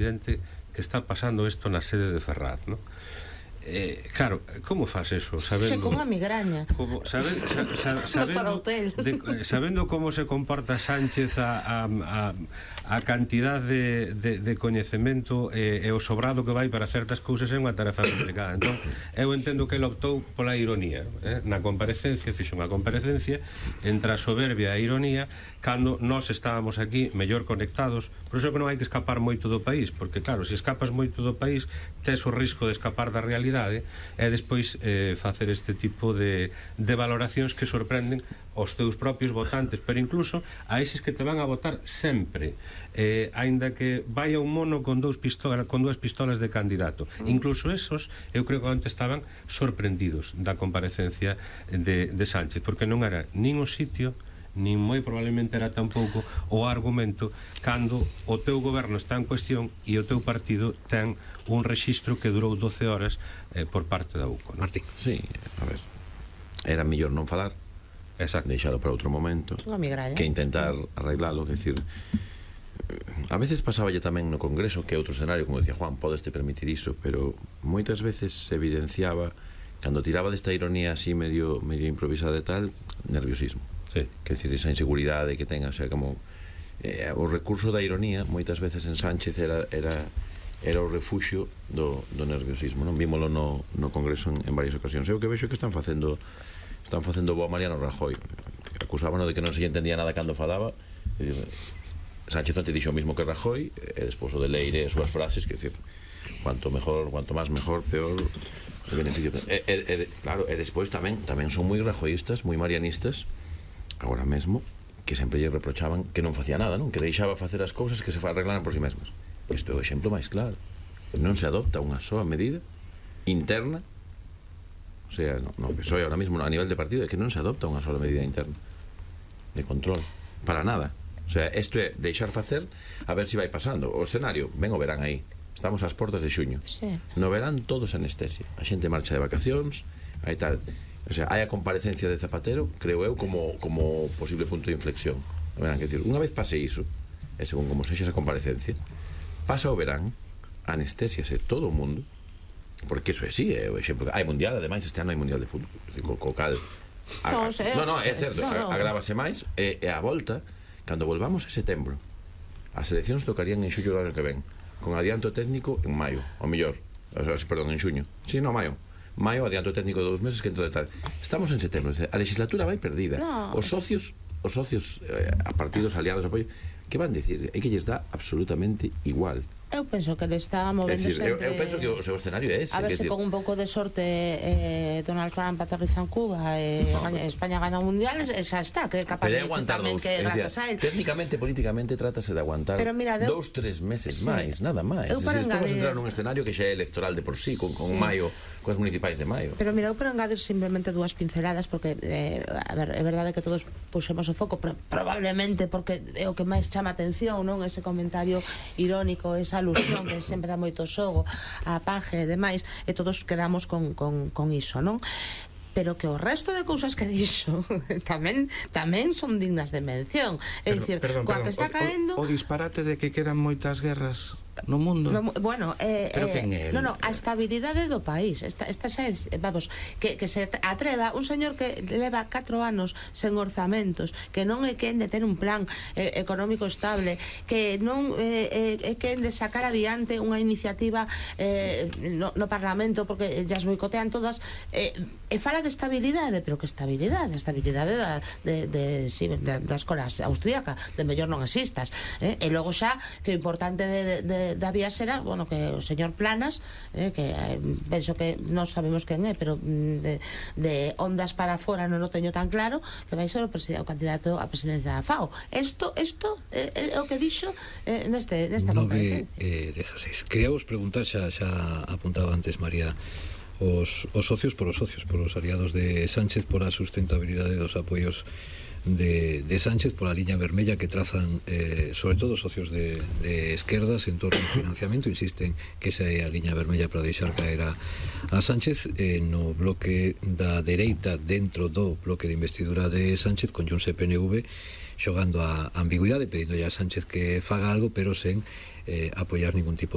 evidente que está pasando isto na sede de Ferraz, non? Claro, como faz eso? Sabendo, con a migraña sabendo como se comporta Sánchez, a cantidad de coñecemento e o sobrado que vai para certas cousas é unha tarefa complicada. Entón, eu entendo que ele optou pola ironía, na comparecencia, fixo unha comparecencia entre a soberbia e a ironía, cando nós estábamos aquí mellor conectados. Por iso que non hai que escapar moito do país, porque claro, se escapas moito do país tes o risco de escapar da realidade e despois facer este tipo de valoracións que sorprenden aos teus propios votantes, pero incluso a eses que te van a votar sempre, aínda que vaya un mono con dúas pistolas de candidato. Incluso esos, eu creo que antes estaban sorprendidos da comparecencia de Sánchez, porque non era nin o sitio, nin moi probablemente era tampouco o argumento cando o teu goberno está en cuestión e o teu partido ten un rexistro que durou 12 horas por parte da UCO, non? Martín. Sí, a ver, era mellor non falar, deixalo para outro momento, que intentar arreglalo, que decir, a veces pasáballe tamén no Congreso, que é outro escenario, como decía Juan, podeste permitir iso, pero moitas veces se evidenciaba, cando tiraba desta ironía así medio improvisada e tal, nerviosismo. Sí. Que decir, esa inseguridade que ten, o sea, como o recurso da ironía moitas veces en Sánchez era o refuxio do nerviosismo, non? Vímolo no Congreso en varias ocasións. Eu que vexo que están facendo bo a Mariano Rajoy. Acusábano de que non se entendía nada cando falaba. Sánchez non te dixo o mismo que Rajoy, e despois o de Leire as súas frases, que decir, cuanto máis mejor, peor o beneficio. Claro, e despois tamén son moi rajoístas, moi marianistas agora mesmo, que sempre lle reprochaban que non facía nada, non? Que deixaba facer as cousas que se arreglaran por si mesmas. Isto é o exemplo máis claro. Non se adopta unha soa medida interna, o sea, no que soy ahora mismo a nivel de partido, é que non se adopta unha sola medida interna de control, para nada. O sea, isto é deixar facer a ver se vai pasando. O escenario, ben o verán aí, estamos ás portas de xuño. No verán todos anestesia, a xente marcha de vacacións, aí tal. O sea, hai a comparecencia de Zapatero, creo eu, como posible punto de inflexión. Verán, que decir, unha vez pase iso, e según como sexa esa comparecencia, pasa o verán, anestesiase todo o mundo, porque iso é así, é o exemplo. Hai mundial, ademais, este ano hai mundial de fútbol, co cal é certo, agrávase máis, e a volta, cando volvamos a setembro, as eleccións tocarían en xullo do ano que ven, con adianto técnico en maio, o mellor, perdón, en xuño, si, no, maio, adianto técnico de 2 meses que entra de tal. Estamos en setembro, a legislatura vai perdida. Os socios a partidos aliados, apoio, que van dicir? É que lles dá absolutamente igual. Eu penso que le está movéndose entre... Eu penso que o seu escenario é ese. A ver se con un pouco de sorte Donald Trump aterriza en Cuba e España gana o Mundial, xa está, que capaz de tamén que grazas a él. Técnicamente, políticamente, trátase de aguantar 2-3 meses máis, nada máis. Estamos a entrar nun escenario que xa é electoral de por sí, con maio, con as municipais de maio. Pero mira, eu por engadir simplemente 2 pinceladas, porque, a ver, é verdade que todos puxemos o foco, probablemente porque é o que máis chama atención, non? Ese comentario irónico, esa alusión que sempre dá moito xogo a paje e demais, e todos quedamos con iso, non? Pero que o resto de cousas que dixo tamén son dignas de mención. É dicir, coa que está caendo o disparate de que quedan moitas guerras no mundo. Bueno, a estabilidade do país. Esta xa é, vamos, que se atreva un señor que leva 4 anos sen orzamentos, que non é quen de ter un plan económico estable, que non é quen de sacar adiante unha iniciativa no Parlamento, porque ya as boicotean todas, e fala de estabilidade, pero que estabilidade? A estabilidade da escola austríaca, de mellor non existas, e logo xa que o importante da vía será, bueno, que o señor Planas, que penso que non sabemos quen é, pero de ondas para fora non o teño tan claro, que vai ser o candidato a presidencia da FAO. Isto é o que dixo nesta comparecencia. 9:16. Quería vos preguntar, xa apuntaba antes María, os socios, por os aliados de Sánchez, por a sustentabilidade dos apoios de Sánchez, por a liña vermella que trazan sobre todo os socios de esquerdas en torno ao financiamento. Insisten que esa é a liña vermella para deixar caer a Sánchez. No bloque da dereita, dentro do bloque de investidura de Sánchez, con Junts e PNV xogando a ambigüidade, pedindo a Sánchez que faga algo, pero sen apoiar ningún tipo